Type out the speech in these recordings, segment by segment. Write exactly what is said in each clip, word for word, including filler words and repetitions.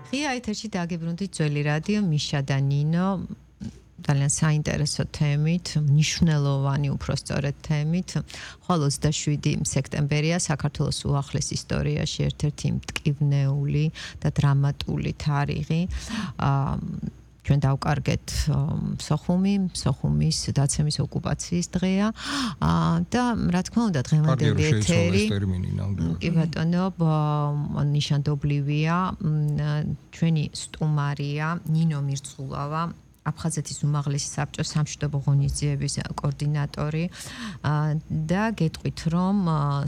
ღია ეთერში დაგიბრუნდით ძველი რადიო მიშა და ნინო ძალიან საინტერესო თემით, მნიშვნელოვანი უпростоრეთ თემით. ხვალ ოცდაშვიდი სექტემბერია საქართველოს უახლეს ისტორიაში ერთ-ერთი მტკივნეული და დრამატული თარიღი. ჩვენ დავკარგეთ სოხუმი, სოხუმის დაცემის ოკუპაციის დღეა და რა თქმა უნდა დღევანდელი ეთერი კი ბატონო ნიშანდობლივია ჩვენი სტუმარია ნინო მირწულავა აფხაზეთის უმაღლესი საბჭოს სამშვიდობო ღონისძიების კოორდინატორი და გეტყვით რომ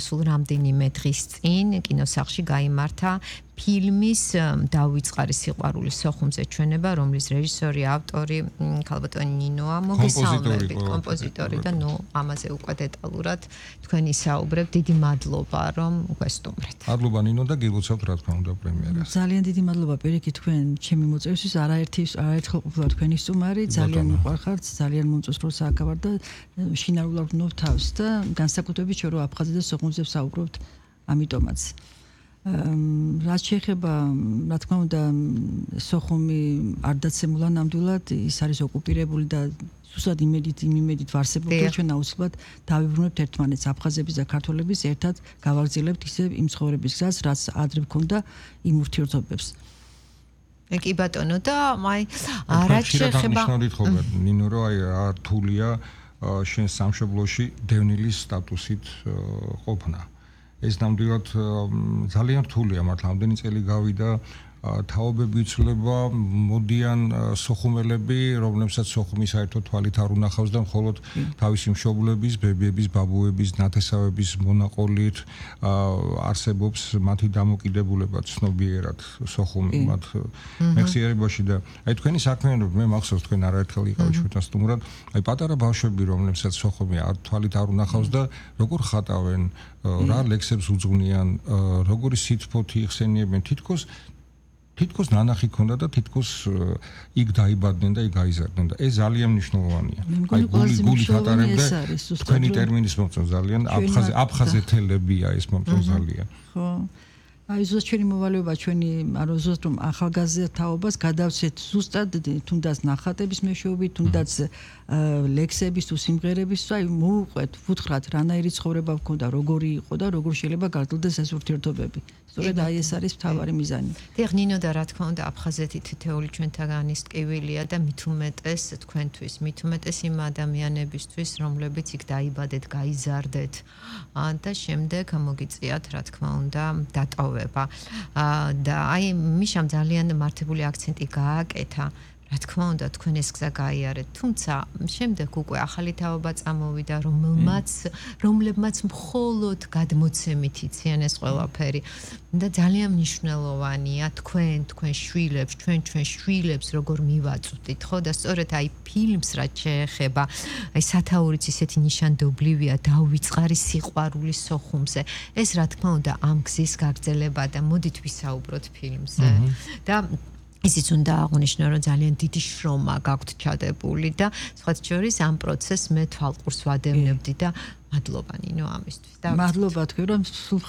სულ რამდენიმე დღის წინ კინოსახლში გაიმართა ფილმის დავიწყარი სიყვარულის სოხუმზე ჩვენება, რომლის რეჟისორი, ავტორი ქალბატონი ნინოა, მოგესალმებით, კომპოზიტორი და ნუ ამაზე უკვე დეტალურად თქვენ ისაუბრებთ. დიდი მადლობა რომ გვესტუმრეთ. მადლობა ნინო და გილოცავთ რა თქმა უნდა პრემიერას. ძალიან დიდი მადლობა პირიქით თქვენ ჩემი მოწვევისთვის, არაერთი არაერთხელ ყოფილა თქვენი სტუმარი, ძალიან მიყვარხართ, ძალიან მომწონს რომ სააგავარ და შინარულად ვნობ თავს და განსაკუთრებით ჩვენ რომ აფხაზეთს და სოხუმზე ვსაუბრობთ, ამიტომაც რაც შეეხება, რა თქმა უნდა, სოხუმი არ დაცემულა ნამდვილად, ის არის ოკუპირებული და სუსად იმედით, იმ იმედით ვარსებული და ჩვენ აუცილებლად დავიბრუნებთ ერთმანეთს, აფხაზების და ქართველების ერთად გავაგრძელებთ ისე იმ ცხოვრების გზას, რაც ადრე გქონდა იმ ურთიერთობებს. კი ბატონო და აი რაც შეეხება ნინო რომ აი რთულია შენ სამშობლოში დევნილის სტატუსით ყოფნა. ეს ნამდვილად ძალიან რთულია მართლა ამდენი წელი გავიდა თაობები იცვლება მოდიან სოხუმელები რომლებსაც სოხუმი საერთოდ თვალით არ უნახავს და მხოლოდ თავისი მშობლების ბებიების ბაბუების ნათესავების მონაყოლით არსებობს მათი დამოკიდებულება ცნობიერად სოხუმი მათ მეხსიერებაში და აი თქვენი საქმიანობა მე მახსოვს თქვენ არაერთხელ იყავით ჩვენთან სტუმრად აი პატარა ბავშვები რომლებსაც სოხუმი თვალით არ უნახავს და როგორ ხატავენ რა ლექსებს უძღვნიან როგორი სიტყვოთი იხსენიებენ თითქოს თითქოს ნანახი ქონდა და თითქოს იქ დაიბადნენ და იქ გაიზარდნენ და ეს ძალიან მნიშვნელოვანია. აი გული გული ხატარებდა თქვენი ტერმინის მომწონ ძალიან აფხაზე აფხაზეთელებია ეს მომწონ ძალიან. ხო. აი ზუსტად ჩვენი მოვალეობა ჩვენი არა ზუსტად რომ ახალგაზრდაობას გადავცეთ ზუსტად თუნდაც ნახატების მეშვეობით თუნდაც ლექსების თუ სიმღერების აი მოუყვეთ ვუთხრათ რანაირი ცხოვრება გქონდა როგორი იყო და როგორ შეიძლება გაგრძელდეს ეს ურთიერთობები სწორედ აი ეს არის მთავარი მიზანი. დიახ ნინო და რა თქმა უნდა აფხაზეთი თითეული ჩვენთაგანის ტკივილია და მით უმეტეს თქვენთვის მით უმეტეს იმ ადამიანებისთვის რომლებიც იქ დაიბადეთ გაიზარდეთ და შემდეგ მოგიწიათ რა თქმა უნდა დატოვება და აი მიშამ ძალიან მართებული აქცენტი გააკეთა რა თქმა უნდა თქვენ ეს გზა გაიარეთ თუმცა შემდეგ უკვე ახალი თაობა წამოვიდა რომელმაც რომლებმაც მხოლოდ გადმოცემით იციან ეს ყველაფერი და ძალიან მნიშვნელოვანია თქვენ თქვენ შვილებს ჩვენ ჩვენ შვილებს როგორ მივაწვდით ხო და სწორედ აი ფილმს რაც შეეხება აი სათაურიც ისეთი ნიშანდობლივია დავიწყარი სიყვარული სოხუმზე ეს რა თქმა უნდა ამ გზის გაგრძელება და მოდით ვისაუბროთ ფილმზე და ისიც უნდა აღნიშნო რომ ძალიან დიდი შრომა გაქვთ ჩადებული და სხვათა შორის ამ პროცესს მე თვალყურს ვადევნებდი და მადლობა ნინო ამისთვის და მადლობა თქვენ რომ